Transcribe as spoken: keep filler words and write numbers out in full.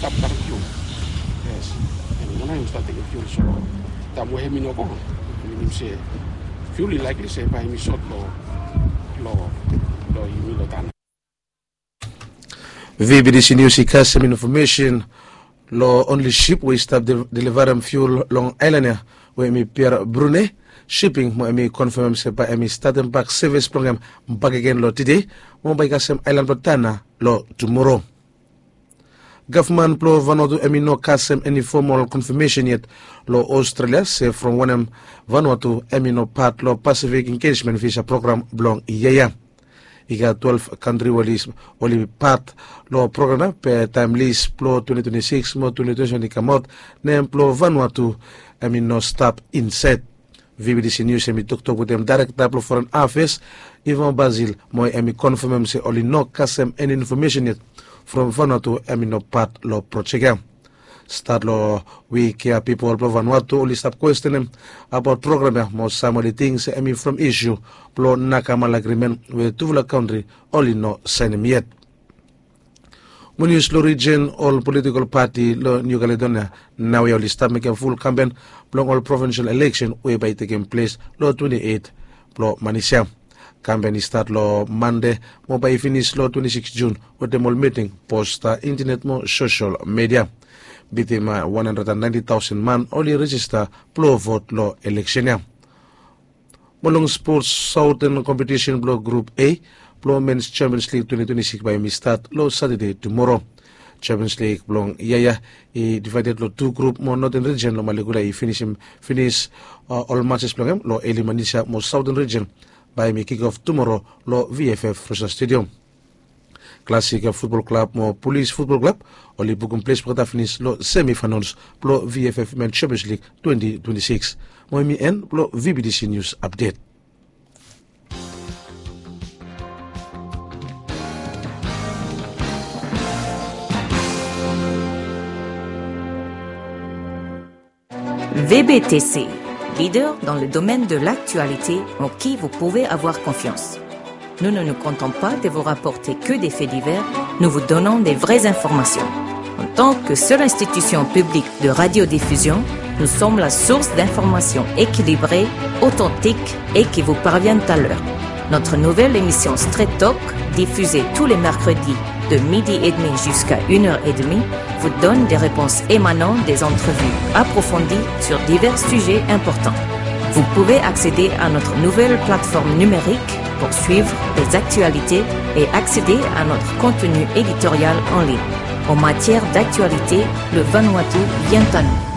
Afta fiul. Yes. Em wan hem stap tekem fiul so taem we hem i no go, minim se fiul i likely se bae hem i sot long long long yumi long taon. Vbtc News i kasem infomesen long onli sip we i stap delivarem fiul long aelan ya we hem i Pier Brune Siping mo hem i konfamem se bae hem i statem bak sevis blong hem bakegen long tede mo bae i kasem aelan blong Tana long tumoro. Gavman blong Vanuatu hem i no kasem eni fomol konfamesen yet long Australia se from wanem Vanuatu hem i no pat long Pacific Engagement Visa Program blong yia ya. I gat twelve kantri we oli pat long program ya be taem lis blong twenty twenty-six mo twenty twenty-seven i kamaot, nem blong Vanuatu hem i no stap insaed. Vbtc News hem i toktok wetem daerekta blong Foren Afeas, Ivan Basil, mo hem i konfamem se oli no kasem eni infomesen yet from Vanuatu hem i no pat long projek ya. Stat long wik ya pipol blong Vanuatu oli stap kwestenem abaot program ya mo sam oli ting se hem i from isu blong Nakamal Agrimen we tufala kantri oli no saenem yet. Mo nius long rijen, ol politikol pati long Niu Kaledonia naoia oli stap mekem ful kampen blong ol provinsel eleksen we bae i tekem ples long twenty eight blong manis ya. Kampen i stat long Mande mo bae i finis long twenty six Jun wetem ol miting, posta, intanet mo sosel midia. Bitim wan handred and ninety taosen man oli rejista blong vot long eleksen ya. Mo long spots, saoten kompetisen blong grup A blong Mens Champions League twenty twenty six bae hem i stat long Satade tumoro. Champions League blong yia ya i divaeded long tu grup mo Noten Rijen long Malekula i finisim finis ol matses blong hem long eli manis ya mo Saoten Rijen bae hem i kikof tumoro long VFF Rosa Stadium. Klasik Futbol Klab mo Pulis Futbol Klab oli bukum ples blong olgeta finis long semifainals blong VFF Men Champions League twenty twenty six. Mo hem i en blong VBTC Nius Apdet. VBTC, leader dans le domaine de l'actualité en qui vous pouvez avoir confiance. Nous ne nous contentons pas de vous rapporter que des faits divers, nous vous donnons des vraies informations. En tant que seule institution publique de radiodiffusion, nous sommes la source d'informations équilibrées, authentiques et qui vous parviennent à l'heure. Notre nouvelle émission Straight Talk, diffusée tous les mercredis de midi et demi jusqu'à une heure et demie, vous donne des réponses émanant des entrevues approfondies sur divers sujets importants. Vous pouvez accéder à notre nouvelle plateforme numérique pour suivre les actualités et accéder à notre contenu éditorial en ligne. En matière d'actualité, le Vanuatu vient à nous.